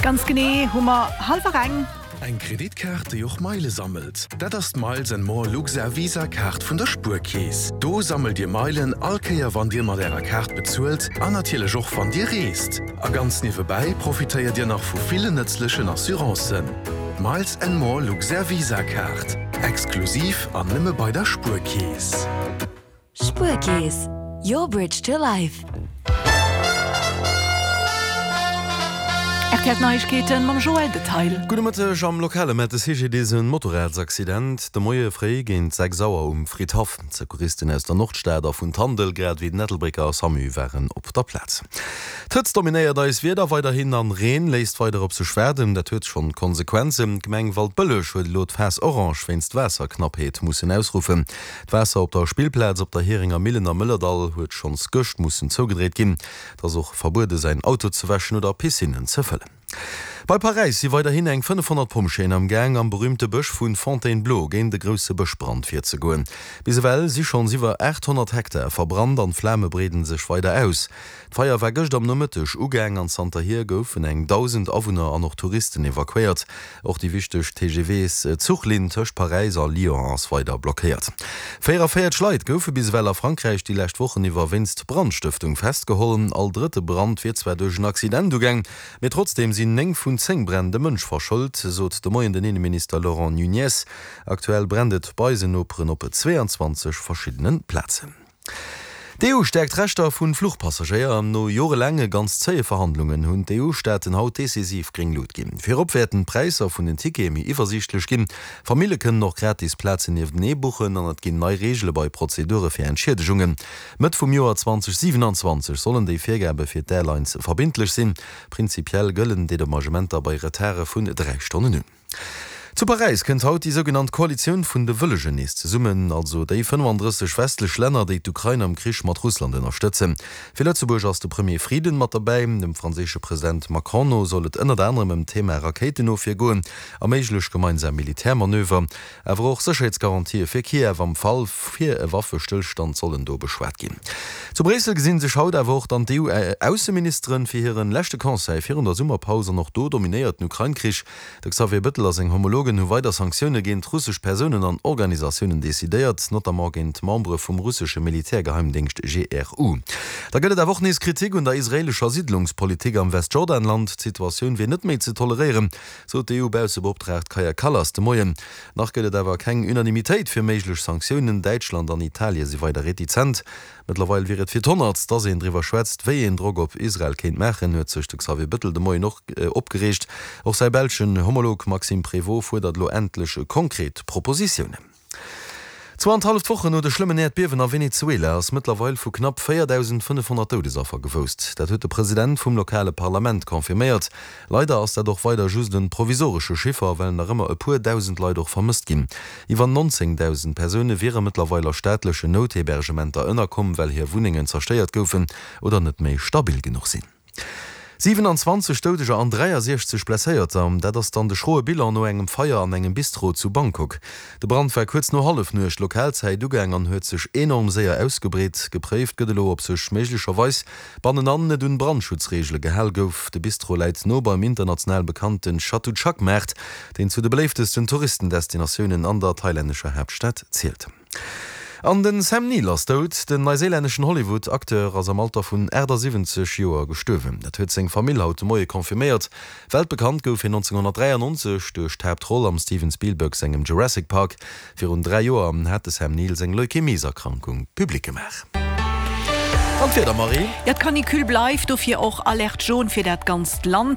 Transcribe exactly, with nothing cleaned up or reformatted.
Ganz genee hu mer hallwer eng. Eng Kreditkaart, déi och Meile sammelt? Dat ass d'Miles and More Luxair Visa Kaart vun der Spuerkeess. Do sammelt Dir Meilen all Kéier wann Dir mat Ärer Kaart bezuelt an natierlech och wann Dir reest. A ganz niewebäi profitéiert Dir nach vu villen nëtzlechen Assurancen. D'Miles and More Luxair Visa Kaart, exklusiv an nëmme bei der Spuerkeess. Spuerkeess, your bridge to life. R T L Neiegkeeten mam Joël Detail. Gudde Mëtteg, Am Lokale mellt de C G D S e Motorradsaccident de Moie fréi géint sechs Auer um Fridhaff. D'Secouristen aus der Nordstad a vun Tandel, grad ewéi den Ettelbrécker SAMU waren op der Plaz. D'Hëtzt dominéiert eis Wieder weiderhin an Reen léisst weider op sech waarden. Dat huet schonn Konsequenzen. D'Gemeng Waldbëlleg huet elo d'Phas Orange wéinst Waasserknappheet mussen ausruffen. D'Waasser op der Spillplaz op der Heringer Millen am Mëllerdall huet schonns gëscht mussen zougedréit ginn. Et ass och verbuede säin Auto ze wäschen oder Piscinnen ze fëllen. Bei Paräis si weiderhin eng fënnefhonnert Pompjeeën am Gaang am berüümte Bësch vu Fontainebleau géint e grousse Bëschbrand virzegoen. Bis ewell si schonns iwwer aacht honnert Hektar verbrannt an d'Flame breeden sech weider aus. D'Feier war gëscht am Nomëtteg ugaang an zanterhier goufen eng dausend Awunner an och Touristen evakuéiert. Och déi wichteg T G Vs-Zuchlinn tëscht Paräis a Lyon ass weider blockéiert. véierundavéierzeg Leit goufe bis ewell a Frankräich déi lescht Wochen iwwer wéinst Brandstëftung festgeholl. All drëtte Brand wier zwar duerch en Accident ugaang, mee trotzdeem sinn néng vun zéng Bränn de Mënsch verschëlt, sot de Moien den Inneminister Laurent Nunez. Aktuell brennt et bei eisen Noperen op zweeanzwanzeg verschiddene Plazen. D'E U stäerkt d'Rechter vu Fluchpassagéier. No jorelaange ganz zéie Verhandlungen hunn d'E U-Staaten haut decisiv gréng Luucht ginn. Virop wäerten d'Präisser vun den Tickete méi iwwersiichtlech ginn. Famillje kënnen och gratis Plazen nieftenee buchen an et ginn nei Reegele bei Prozedure fir Entschiedegungen. Mëtt vum Joer zweedausendsiwenanzwanzeg sollen déi Virgabe fir d'Airlines verbindlech sinn. Prinzipiell gëllen Dedommagementer bei Retarde vun dräi Stonnen un. Zu Paräis kënnt haut déi sougenannt Koalitioun vun de Wëllegen nees zesummen, also déi fënnefandrësseg westlech Länner, déi d'Ukrain am Krich mat Russland ënnerstëtzen. Fir Lëtzebuerg ass de Premier Frieden mat derbäi. Dem franséische President Macron no soll et ënnert anerem ëm d'Thema Rakéitenofwier goen a méiglech gemeinsam Militärmanöver. Awer och Sécherheetsgarantië fir Kiew am Fall fir e Waffestëllstand sollen do beschwat ginn. Zu Bréissel gesinn sech haut awer och dann d'E U-Ausseministeren fir hiren leschte Conseil virun der Summerpaus an och do dominéiert den Ukrain-Krich. De Xavier Bettel a seng Homologen hu weider Sanktioune géint russesch Persounen an Organisatiounen decidéiert, notamment géint Membere vum russesche Militärgeheimdéngscht G R U. Da gëtt et awer och nees Kritik un der israeelescher Siddlungspolitik am Westjordanland. D'Situatioun wier net méi ze toleréieren, sot d'E U-Baussebeoptraagt Kaja Kallas de Moien. Nach gëtt et awer keng Unanimitéit fir méiglech Sanktiounen. Däitschland an Italie si weider retizent. Mëttlerweil wier et fir d'Honnertst, dass een driwwer schwätzt, wéi een Drock op Israel kéint maachen, huet sech de Xavier Bettel de Moien och opgereegt. Och säi belschen Homolog Maxime Prévot fuerdert elo endlech konkret Propositiounen. Zwou an halleft Wochen no de schlëmmen Äerdbiewen a Venezuela ass mëttlerweil vu knapp véierdausendfënnefhonnert Doudesaffer gewousst. Dat huet de President vum lokale Parlament confirméiert. Leider ass dat och weider just e provisoresche Chiffer, well nach ëmmer e puer dausend Leit och vermësst ginn. Iwwer nonzéngdausend Persoune wiere mëttlerweil a staatlechen Nouthébergementer ënnerkomm, well hir Wunnengen zerstéiert goufen oder net méi stabil genuch sinn. siewenanzwanzeg Doudeger an dräiasiechzeg Blesséierter, dat ass dann de schroe Bilan no engem Feier an engem Bistro zu Bangkok. De Brand war kuerz no Hallefnuecht Lokalzäit ugaang an huet sech enorm séier ausgebreet. Gepréift gëtt elo, ob sech méiglecherweis bannenan net un Brandschutzreegele gehale gouf. De Bistro läit no beim international bekannten Chatuchak-Maart, deen zu de beléiftesten Touristendestinatiounen an der thailännescher Haaptstad zielt. An den Sam Neill ass dout. Den neuseelänneschen Hollywood-Acteur ass am Alter vun achtasiwwenzeg Joer gestuerwen. Dat huet seng Famill haut de Moie confirméiert. Weltbekannt gouf hien nonzénghonnertdräiannonzeg duerch d'Haaptroll am Steven Spielberg sengem Jurassic Park. Virun dräi Joer hat de Sam Neill seng Leukämieserkrankung public gemaach. An d'Wieder, Marie? Ja, d'Canicule bleift, dofir och Alerte jaune fir dat ganzt Land.